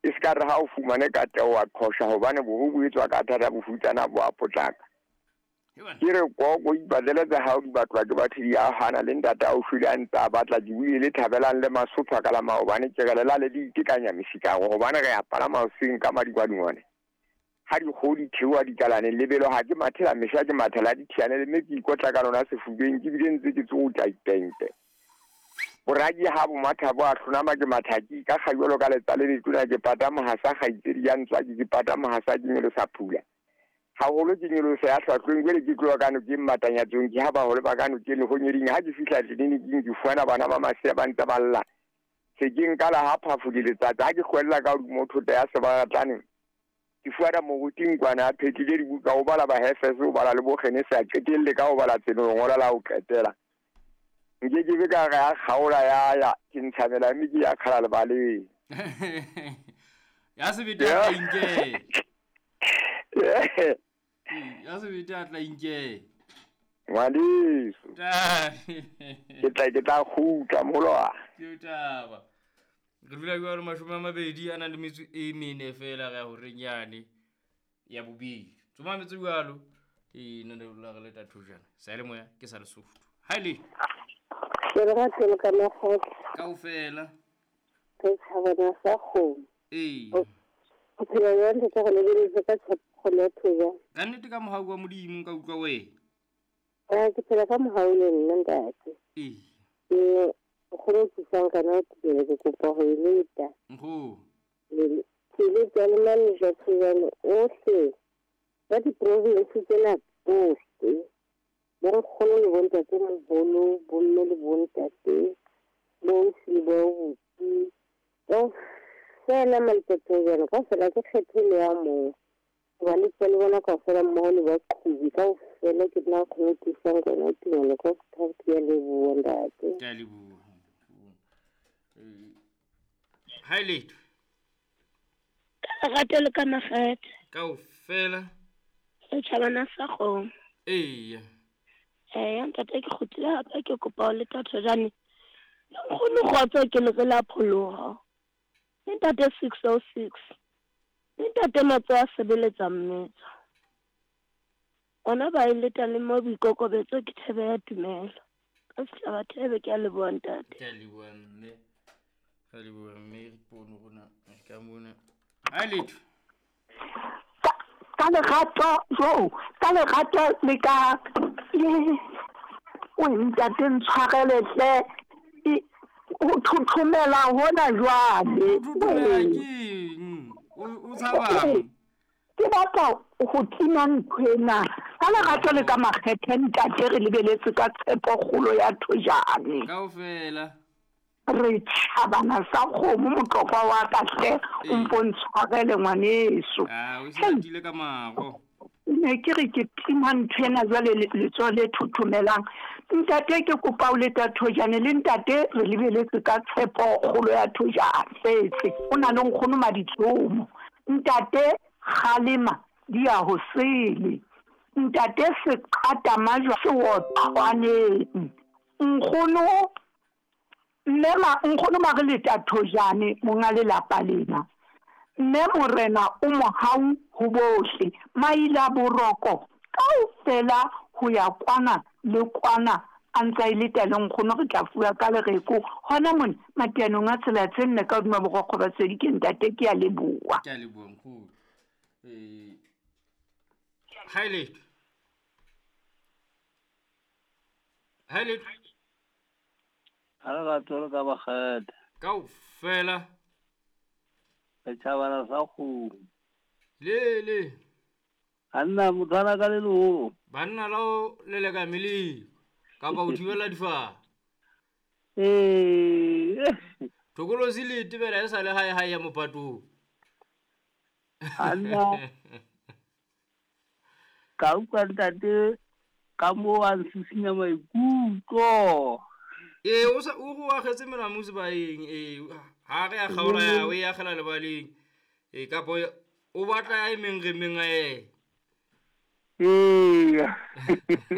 E se ka re ha o fumane katleho wa qhosha hobane bobe bo etswa ka thata bofutsana bo a potlaka. Ke re koko ipatlele tsa hao di batlwa ke batho di a hana le ntate a o shwele a ntse a batla ke buile le thabelang le masopha ka la maobane ke re lelale le itekanya mesikaro hobane re a palama hoseng ka madikwadingwane ha dikgoho di theoha dikalaneng lebelo ha ke mathela mehla ke mathela dithiane le mme ke ikotla ka lona sefubeng ke bile ntse ke tsokotla ditente boraki ha bo matha bo a hlonama ke matha ke ikakga jwalo ka letsa le letona ke pata mohasa kgaitsedi ya ntswaki ke pata mohasa ke nyolosa phula haholo ke nyolosa ya hlwahlweng jwale ke tloha ka nokeng matanyatsong ke ha baholo ba ka nokeng lehonyeding ha ke fihla tleliniking ke fumana bana ba masea ba ntse ba lla se ke nkala ha phafodi letsatsi ha ke hlwella ka hodimo thota ya sebaratlane ke fumana moruti nkwana a phetlile dibuka o bala bahefese o bala le bogenese a qetelle ka ho bala tseno lengolo la ho qetela nke ke be ka re ya kgaola ya ya ke ntshamela mme ke ya kgala lebaleng ya sebete a tla inke ya sebete a tla inke ngwaneso ke tla kgutla moloa ke taba re dula jalo 20 a nang le metso e mene fela re ya horeng yane ya bobedi tsoma metso jalo e nne le re le tathojana sa le moya ke sa Lesotho ha ile ke re ga tselo ka makgotla kaofela re tshabana sa kgomo ee o phela jwang ntate go lebeletse ka tshepo ya thoja ka nnete ka mohau wa Modimo nka utlwa wena ke phela ka mohau le nna ntate ee ke kgone ho thusang kana ke ke kopa ho e leta nkgo ke leta le manager thojane ohle ba diprovince tsena tsohle bonkgono le bontate moholo bomme le bontate boausi le boabuti kaofela maletathojane kaofela ke kgethe le ya mong hoba le tswa le bona kaofela mmoho le baqhubi kaofela ke nna kgone ho thusang kona tumelo ka ke a leboha ntate. Ke a leboha. Ha letho ka lerato le ka makgethe kaofela setjhabana sa kgomo. Eya Eya ntate ke kgutlile hape ke kopa ho leta thojane le nkgono kgotso ke le re la pholoha le ntate 606 le ntate Matso a sebeletsa mmetso ona ba e leta le mo boikokobetso ke thebe ya tumelo ka setjhaba thebe ke a leboha ntate. Ke a leboha mme re leboha mme re pono rona ka mona ha letho ka lerato jo ka lerato le ka o ntate ntshwarele hle o thothomela hona jwale o tshabang ke batla ho tima ntho ena ka lerato le ka makgethe ntate re lebeletse ka tshepo kgolo ya thojane kaofela re tjhabana sa kgomo motlokwa wa ka hle o mpo ntshwarele ngwaneso o se ka maro ne ke re ke tima ntho ena jwale letsoho le thothomelang ntate ke kopa o leta thojane le ntate re lebeletse ka tshepo kgolo ya thojane setse o na le nkgono maditsomo ntate kgalema di ya ho sele ntate seqata majwa se otlwaneng nkgono mme nkgono mare leta thojane monga lelapa lena mme morena o mohau ho bohle maila boroko kaofela ho ya kwana le kwana a ntsa e leta le nkgono re tla fuwa ka lereko hona mona matianong a tsela tse nne ka hodima borokgo ba tsedi ke ntate ke a leboha. Ke a leboha nkgono. Ha letho ha letho ha lerato le ka bakgetha kaofela setjhabana sa kgomo le anna motho ka le leholo banna la o leleka meleko kapa o thibela difaha ee thokolosi le tebela e sa le hae hae ya mopatong anna ka utlwa ntate ka moo a nsisinya maikutlo ee o sa o go agetse melamu sebaeng ee ha re a kgaola ya o e agela lebaleng ee kapo o batla ya e meng re meng a ee ee.